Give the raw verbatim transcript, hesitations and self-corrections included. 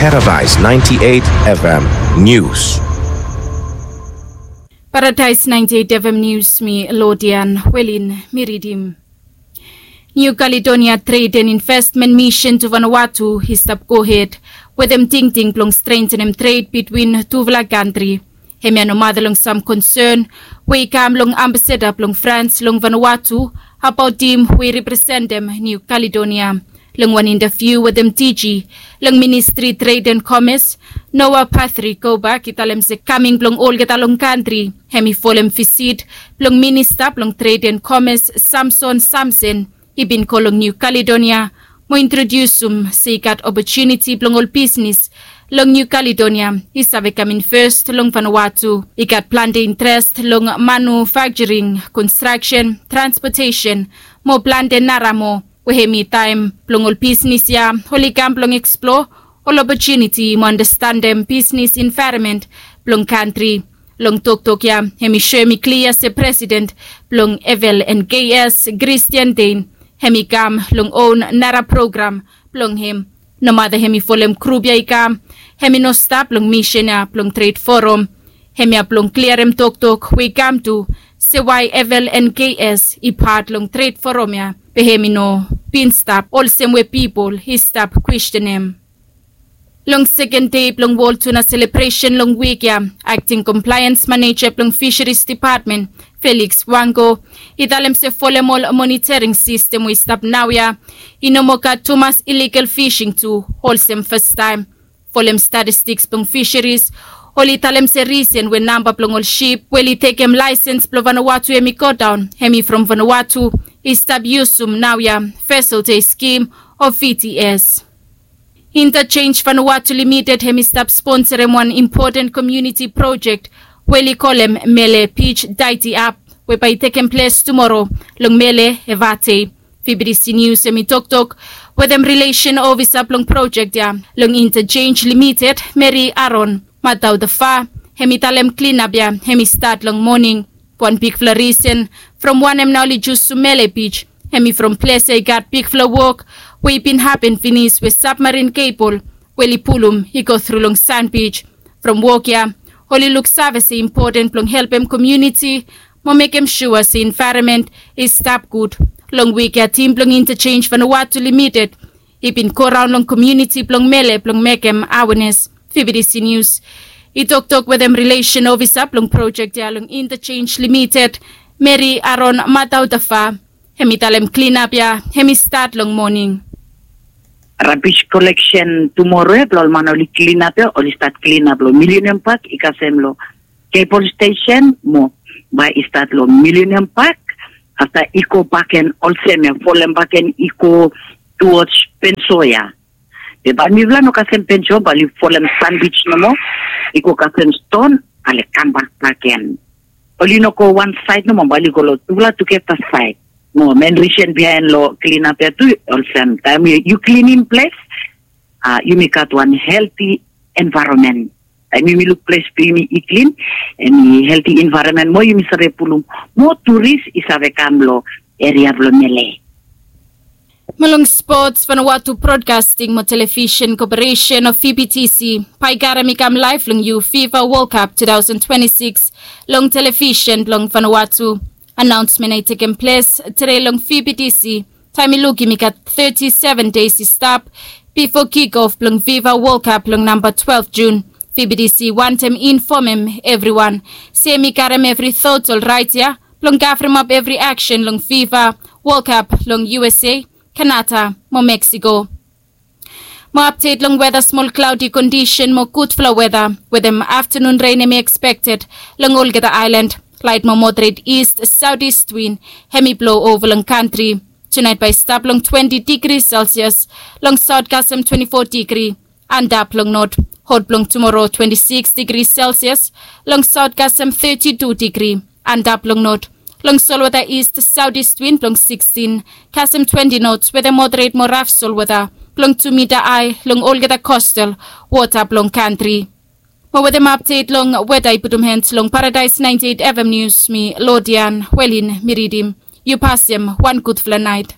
Paradise ninety-eight F M News. Paradise ninety-eight F M News, mi Lodian Welin mi ridim. New Caledonia Trade and Investment Mission to Vanuatu i stap gohed wetem tingting blong strengthenem trade between tufala kantri. Hemia no mata long sam concern we i kam long ambassador blong France long Vanuatu abaot him we i representem New Caledonia. Long wan interview wetem D G long Ministry Trade and Commerce, Noah Patrick Kobak i talem se kaming blong olgeta long kantri hem i folem visit blong Minista blong Trade and Commerce Samson Samson i bin go long New Caledonia mo introdiusum se i gat opotuniti blong ol bisnis long New Caledonia i save kam in fes long Vanuatu. I gat plante interes long manufakturing, konstraksen, transpotesen mo plante nara mo we hem i taem blong ol bisnis ya oli kam blong eksplor ol opotuniti mo andastanem bisnis envaeronmen blong kantri. Long toktok ya hem i soem i klia se presiden blong F L N K S, Christian Dane, hem i kam long on nara program blong hem. Nomata hem i folem grup ya i kam, hem i no stap long misen ya blong Tred Forum. Hemia blong kliarem toktok we i kam tu se wae F L N K S i pat long Tred Forum ya be hem i no bin stap olsem we pipol i stap kwestenem. Long seken dei blong Wol Tuna selebresen long wik ya, Akting Komplaens Maneja blong Fisheries Depatmen, Felix Wango, i talem se folem ol monitoring sistem we i stap naoia, i no moa gat tumas iligal fising tu olsem fastaem. Folem statistiks blong fisheries, oli talem se risen we namba blong ol sip we oli tekem laesens blong Vanuatu hem i godaon hem i from Vanuatu i stap yusum naoia Vessel Day Scheme o V T S. Interchange Vanuatu Limited hem i stap sponsorem wan impoten komuniti projek we oli kolem Mele Beach Tidy Up, we bae i tekem ples tumoro long Mele, Evate. V B T C News hem i toktok wetem rilesen ofisa blong projek ya long Interchange Limited, Mary Aaron Mataudafa, hem i talem klinap ya hem i stat long moning. Wan bigfala risen from wanem nao oli jusum Mele Beach hem i from ples ya i gat bigfala wok we i bin hapen finis we sabmarin kebol we oli pulum i go tru long Sand Beach. From wok ya oli luksave se impoten blong helpem komuniti mo mekem sua se envaeronmen i stap gud. Long wik ya tim blong Interchange Vanuatu Limited i bin goraon long komuniti blong Mele blong mekem awenes. V B T C News i toktok wetem rilesen ofisa blong projek ya long Interchange Limited, Mary Aaron Mataudafa, hem i talem klinap ya hem i stat long moning. Rabis koleksen tumoro ya blong ol man oli klinap ya oli stat klinap long Millennium Park i kasem long Cable Station mo bae i stat long Millennium Park, afta i go bakegen olsem ya folem bakegen i go towards Penso ya. Be bae mifala no kasem Penso, bae oli folem Sand Beach nomo, i go kasem Ston, ale kambak bakegen. Oli no go wan saed nomo, bae oli go long tufala tugeta saed. Mo men risen biaen long klinap ya tu olsem taem yu klinim ples, a yumi gat wan helti envaeronmen. Taem yumi luk ples blong yumi i klin, hem i helti envaeronmen mo yumi save pulum mo turis i save kam long eria blong Mele. Mo long spots, Vanuatu Broadcasting mo Television Corporation o V B T C bae i karem i kam laef long yu FIFA World Cup two thousand twenty-six long television blong Vanuatu. Anaonsmen ya i tekem ples tede long V B T C taem i lukim i gat thirty-seven deis i stap bifo kick off blong FIFA World Cup long namba twelve June. V B T C wantem infomem evriwan se hem i karem evri thot olraet ya blong kavremap evri aksen long FIFA World Cup long U S A, Kanada mo Mexico. Mo apdet long weta, smol klaodi kondisen mo gudfala weta wetem aftanun ren hem i ekspekted long olgeta aelan. Laet mo moderet ist saotiст win hem i blo ova long kantri. Tunaet bae i stap long twenti digri Celsius, long saot kasem twenti fo digri, antap long not. Hot blong tumoro twenti sikis digri Celsius, long saot kasem teti tu digri, antap long not. Long solwota ist saotiст win blong sikistiን kasem twenti nots wetem moderet mo raf solwota blong tu mita ae long olgeta kostal wota blong kantri. Mo wetem apdet long weta i putum hendz long Paradise ninety eight F M News, mi Lodian Welin mi ridim. Yu pasem wan gudfala naet.